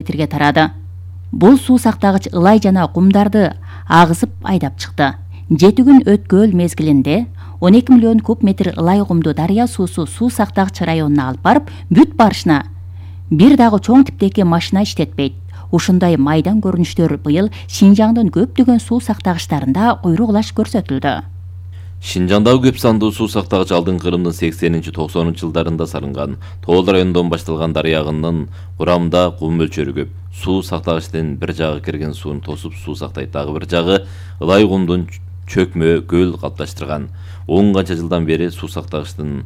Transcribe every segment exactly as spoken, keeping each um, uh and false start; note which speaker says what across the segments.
Speaker 1: метрге тарады. Бул суу сактагыч ылай жана кумдарды агызып айдап чыкты. жети күн өткөл мезгилинде он эки миллион куб метр ылай кумду дарыя суусу суу сактагыч районуна алып барып бүт барышына бир дагы чоң типтеги машина иштетпейт. Ушундай майдан көрүнүштөр быйыл Шинжаңдын көптөгөн суу сактагычтарында куйругулаш көрсөтүлдү.
Speaker 2: Шинжаңдагы көп сандуу суу сактагыч алдыңкы Кырымдын сексенинчи токсонунчу жылдарында салынган. Тоол районунан башталган дарыя агынынын курамында кум мөлчөрү көп. Суу сактагычтын бир жагы кирген сууну тосуп суу сактайт, дагы бир жагы ылай кумдун чөкмө көл калыпташтырган. он канча жылдан бери суу сактагычтын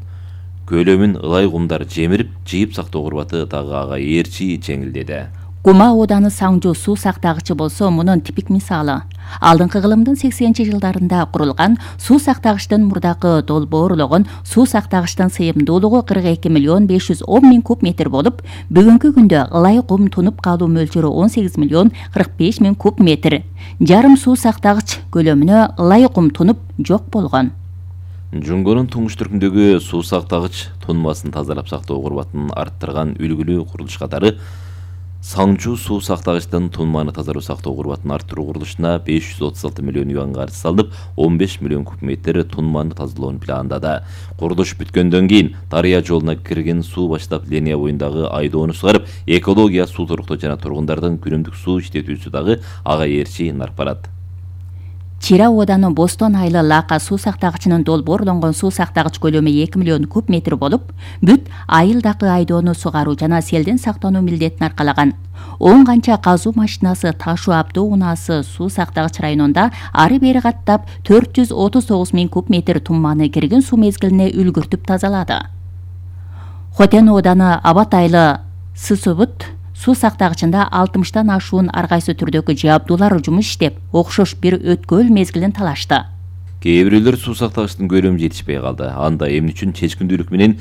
Speaker 2: көлөмүн ылай кумдар жемирип, жыйып сактоо курбаты дагы ага ээрчи жеңилдеди.
Speaker 1: Кума ооданы Саңжу суу сактагычы болсо мунун типик мисалы. Алдыңкы кылымдын сексенинчи жылдарында курулган суу сактагычтын мурдакы долбоорлогон суу сактагычтын сыйымдуулугу кырк эки миллион беш жүз он миң куб метр болуп, бүгүнкү күндө ылай кум тунуп калуу мөлчөрү он сегиз миллион кырк беш миң куб метр. Жарым суу сактагыч көлөмүнө ылай кум тунуп жок болгон.
Speaker 2: Жунгонун туңуш түркүндөгү суу сактагыч тунмасын тазалап сактоо курбатын арттырган үлгүлүү курулуш катары Саңжу суу сактагычтын тунманы тазалоо сактоо курбатын арттыруу курулушуна беш жүз отуз алты миллион юан каржы салынып, он беш миллион куб метр тунманы тазалоону пландады. Курулуш бүткөндөн кийин дарыя жолуна кирген суу баштап линия боюндагы айдоону сугарып, экология, суу торуктоо жана тургундардын күнүмдүк суу иштетүүсү дагы ага ээрчи нарп барат.
Speaker 1: Чира ооданы Бостон айлы Лака суу сактагычынын долбоорлонгон суу сактагыч көлөмү эки миллион куб метр болуп, бүт айылдагы айдоону сугаруу жана селден сактануу милдетин аркалаган. он канча казуу машинасы, ташуу абдоо унаасы суу сактагыч районунда ары бери каттап төрт жүз отуз тогуз миң куб метр тумманы кирген суу мезгилине үлгүртүп тазалады. Хотен ооданы Абат айлы Сысыбыт суу сактагычында алтымыштан ашуун ар кайсы түрдөгү жабдуулар жумуш иштеп, окшош бир өткөл мезгилин талашты.
Speaker 2: Кээ бирөөлөр суу сактагычтын көлөмү жетишпей калды. Анда эмне үчүн чечкиндүүлүк менен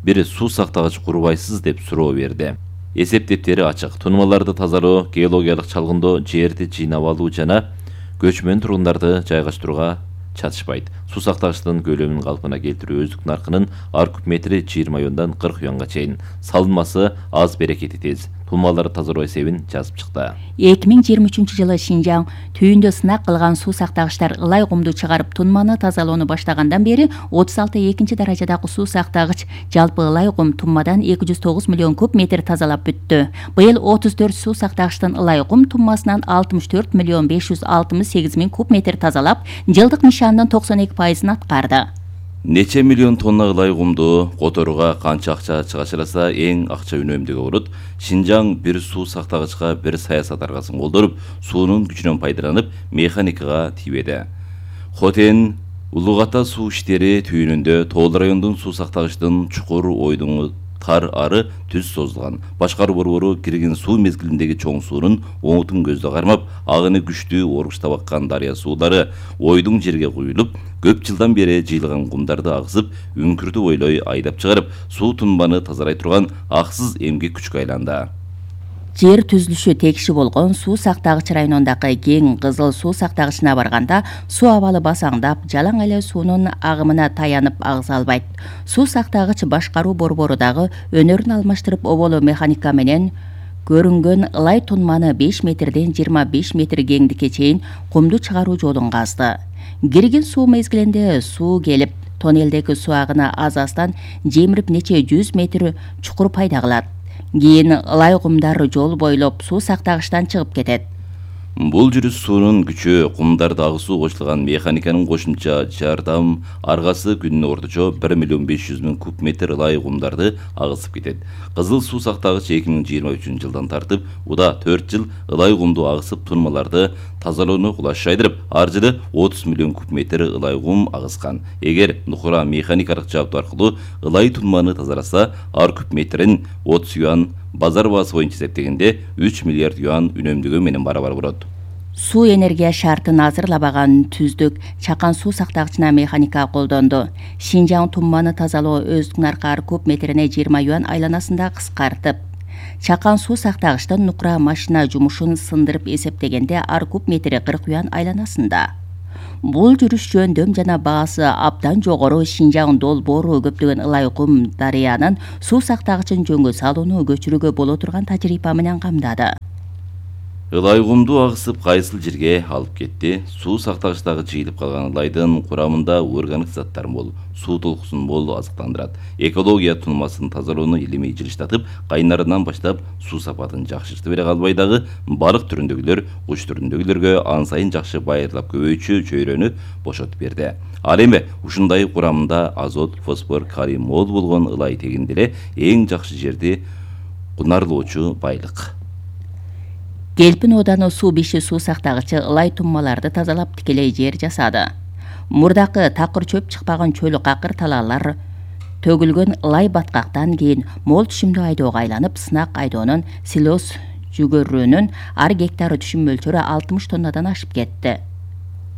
Speaker 2: бир суу сактагыч курбайсыз деп суроо берди. Эсептептери ачык. Тунмаларды тазалоо, геологиялык чалгындоо, жерди жыйнап алуу жана көчмөн тургундарды жайгаштырууга чатышпайт. Суу сактагычтын көлөмүн калпына келтирүү өздүк наркынын ар куб метри жыйырма юандан кырк юанга чейин. Салынмасы аз, берекети тез. Тунмаларды тазалоо эсебин жазып чыкты.
Speaker 1: эки миң жыйырма үчүнчү жылы Шинжаң түйүндө сынак кылган суу сактагычтар ылай кумду чыгарып тунманы тазалоону баштагандан бери отуз алты экинчи даражадагы суу сактагыч жалпы ылай кум тунмадан эки жүз тогуз миллион куб метр тазалап бүттү. Быйыл отуз төрт суу сактагычтын ылай кум тунмасынан алтымыш төрт миллион беш жүз алтымыш сегиз миң куб метр тазалап, жылдык нишандын токсон эки пайызын аткарды.
Speaker 2: Нече миллион тонна ылай кумду которууга канча акча чыгашыраса эң акча үнөмдүүгө урут. Шинжаң бир суу сактагычка бир саясат аргасын колдоруп, суунун күчүнөн пайдаланып, механикага тийбеди. Хотен Улугата суу иштери түйүнүндө Тоол райондун суу сактагычтын чукур ойдуңу тар ары түз созулган. Башкаруу борбору кирген суу мезгилиндеги чоң суунун оңутун көздө кармап, агыны күчтүү оргуштап аккан дарыя суулары ойдуң жерге куюлуп, көп жылдан бери жыйылган кумдарды агызып, үңкүрдү бойлой айдап чыгарып, суу тунбаны тазалай турган аксыз эмгек күчкө айланды.
Speaker 1: Жер түзүлүшү текши болгон суу сактагыч районундагы кең Кызыл суу сактагычына барганда суу абалы басаңдап, жалаң эле суунун агымына таянып агыза албайт. Суу сактагыч башкаруу борбору дагы өнөрүн алмаштырып, оболу механика менен көрүнгөн ылай тунманы беш метрден жыйырма беш метр кеңдикке чейин кумду чыгаруу жолун казды. Кирген суу мезгилинде суу келип, тоннелдеги суу агыны аз-аздан жемирип нече жүз метр чукур пайда кылат. Кийин ылай кумдар жол бойлоп суу сактагычтан чыгып кетет.
Speaker 2: Бул жүрүш суунун күчү кумдарды агысуу кошулган механиканын кошумча жардам аргасы күнүнө орточо бир миллион беш жүз миң куб метр ылай кумдарды агысып кетет. Кызыл суу сактагыч эки миң жыйырма үчүнчү жылдан тартып, уда төрт жыл ылай кумду агысып тунмаларды тазалоону кулаш жайдырып, ар жылы отуз миллион куб метр ылай кум агыскан. Эгер нухура механикалык жабдуу аркылуу ылай тунманы тазаласа, ар куб метрин отуз юан, базар баасы боюнча эсептегенде үч миллиард юан үнөмдүгү менен барабар болот.
Speaker 1: Суу энергия шартын азырлабаган түздүк Чакан суу сактагычына механика колдонду. Шинжаң тунманы тазалоо өздүк наркы ар куб метрине жыйырма юан айланасында кыскартып, Чакан суу сактагычтын нукура машина жумушун сындырып эсептегенде ар куб метри кырк юан айланасында. Бул жүрүш жөндөм жана баасы абдан жогору Шинжаң долбоору көптөгөн ылай кум дарыянын суу сактагычын жөнгө салууну көчүрүүгө боло турган тажрыйба менен камдады.
Speaker 2: Ылай кумду агысып кайсыл жерге алып кетти? Суу сактагычтагы жыйылып калган ылайдын курамында органик заттар мол, суу толкусун мол азыктандырат. Экология тунмасын тазалоону илимий жылыштатып, кайнарынан баштап суу сапатын жакшыртып бере калбай дагы балык түрүндөгүлөр, куш түрүндөгүлөргө ан сайын жакшы байырлап көбөйчү чөйрөнү бошотуп берди. Ал эми ушундай курамында азот, фосфор, калий мол болгон ылай тегинде эле эң жакшы жерди кунарлоочу байлык.
Speaker 1: Келпин ооданы суу биши суу сактагычы ылай туммаларды тазалап тикелей жер жасады. Мурдакы такыр чөп чыкпаган чөл какыр талаалар төгүлгөн ылай баткактан кийин мол түшүмдүү айдоого айланып, сынак айдоонун силоз жүгөрүнүн ар гектар түшүм мөлчөрү алтымыш тоннадан ашып кетти.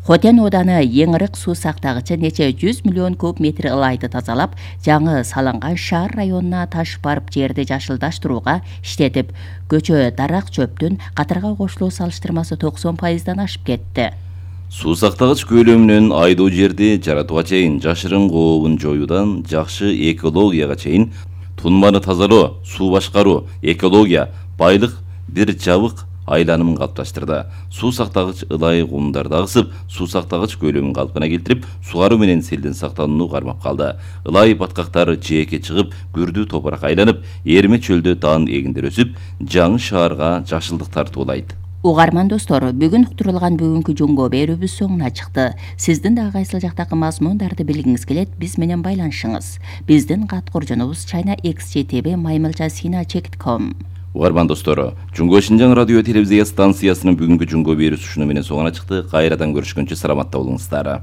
Speaker 1: Хотен ооданы эң ырык суу сактагычы нече жүз миллион куб метр ылайды тазалап, жаңы салынган шаар районуна ташып барып жерди жашылдаштырууга иштетип, көчө дарак чөптүн катарга кошулуу салыштырмасы токсон пайыздан ашып кетти.
Speaker 2: Суу сактагыч көлөмүнөн айдоо жерди жаратууга чейин, жашырын кообун жоюудан жакшы экологияга чейин, тунманы тазалоо, суу башкаруу, экология, байлык бир жабык айланымын калыпташтырды. Суу сактагыч ылай кумдарды агысып, суу сактагыч көлөмүн калпына келтирип, сугаруу менен селден сактанууну кармап калды. Ылай баткактар жээкке чыгып, күрдүү топурак айланып, эрме чөлдө даан эгиндер өсүп, жаңы шаарга жашылдык тартуулайт.
Speaker 1: Угарман достор, бүгүн уктурулган бүгүнкү жөнгө берүүбүз соңуна чыкты. Сиздин да кайсыл жактагы мазмундарды билгиңиз келет, биз менен байланышыңыз. Биздин кат куржунубуз China X J T B маймылча сина чек ком.
Speaker 2: Угарман достору, Жөнгө Шинжаң радио телевизия станциясынын бүгүнкү жөнгө берүүсү ушуну менен соңуна чыкты. Кайрадан көрүшкөнчө саламатта болуңуздар.